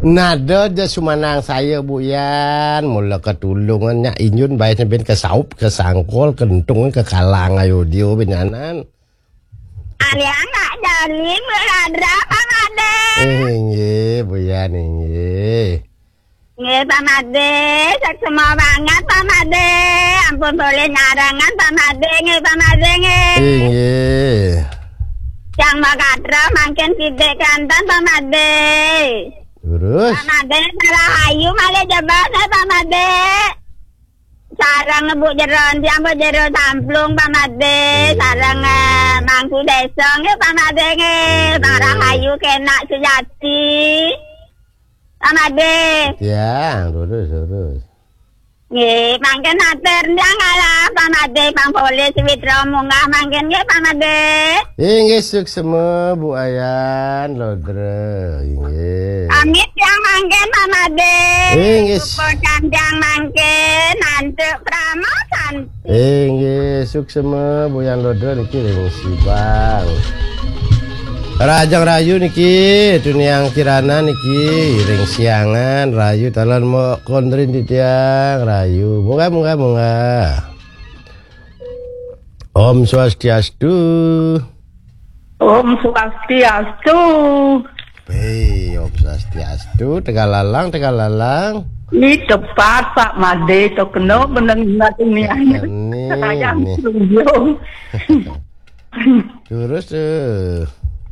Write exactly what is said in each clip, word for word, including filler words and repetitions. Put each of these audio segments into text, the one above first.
Nada ja sumanang saya, Bu Yan. Mula ketulungan nyak injun bae ben kesaup, kesangkol, kentung, kekalang ayo dio benyanan. Aliang nak jali meladra Pak Made. Inggih, Bu Yan, inggih. Nggih, Pak Made, seksema banget Pak Made. Ampun boleh nyarangan Pak Made, nggih Pak Made, nggih. Inggih. Yang Makadra makin sidik kanten Pak Made. Terus? Pak Made, salah ayu malah jebak saya Pak Made. Sarang nebuk jero, tiang jero samplung Pak Made. Sarang eh, mangku desa nggih Pak Made nggih. Bang Rahayu kenak sejati. Pak Made. Tiang, lurus, lurus. Nggih, mangkin atur tiang kalah Pak Made, Bang Polisi Witro munggah mangkin nggih Pak Made. Inggih, suksema, Bu Ayan, Lodra, inggih. Amit yang mangkin Pak Made. Inggih. Supo tiang mangkin, antuk Prama Santi. Inggih, suksema, Bu Yan Lodra niki ring Sibang. Rajang Rayu niki, tuniang Kirana niki, ring Siangan, Rayu talan mo kondrin titiang, Rayu. Munggah, munggah, munggah. Om Swastiastu. Om Swastiastu. Hei, Om Swastiastu. Tegal lalang, tegal lalang. Ni tepat Pak Made to kena meneng ingat ini. Ini, Sayang ini. Tunjung. Terus eh.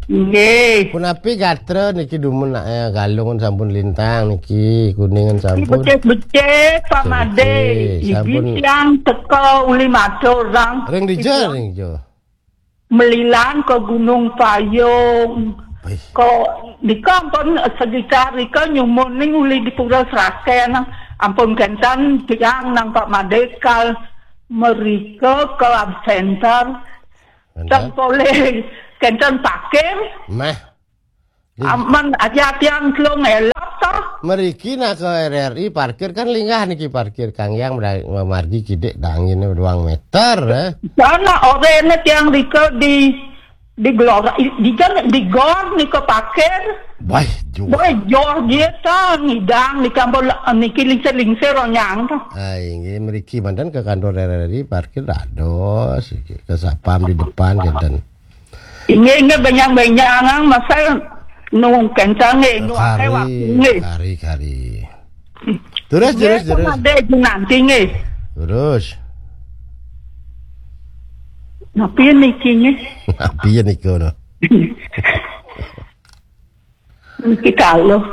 Nggih. Punapi gatra niki dumun nak eh, galungan sampun lintang niki, kuningan sampun. Becik-becik Pak Made. Becik, sampun. Iki yang teka uli matur, Bang. Ring dija, ring dija. Melilan ke Gunung Payung. Baik. Ko dika pun sekitar dika nyumun ning uli di Pura Seraken. Ampun kenten tiang nang Pak Made kal merika ke lab center. Mantap. Tang poleh kenten parkir. Mah. Aman aja tiang telung elok toh. Meriki nak ke R R I parkir kan linggah niki parkir Kang Yang mera- margi kidik dangin ruang meter eh. Sana orene tiang rika di di gelora di kan di gor nika parkir. Baik juga. Baik jor dia ta ngidang di kampung niki lingsir-lingsir onyang ta. Ai nggih meriki mantan ke kantor R R I parkir dados iki. Ke sapam di depan kenten. Inggih, inggih, benjang-benjang, masa nu kencang nggih, nu akeh waktu nggih. Kari, kari. Terus, terus, terus. Ada nanti nggih. Terus. Napi niki nggih? Napi niki no? Niki kalau.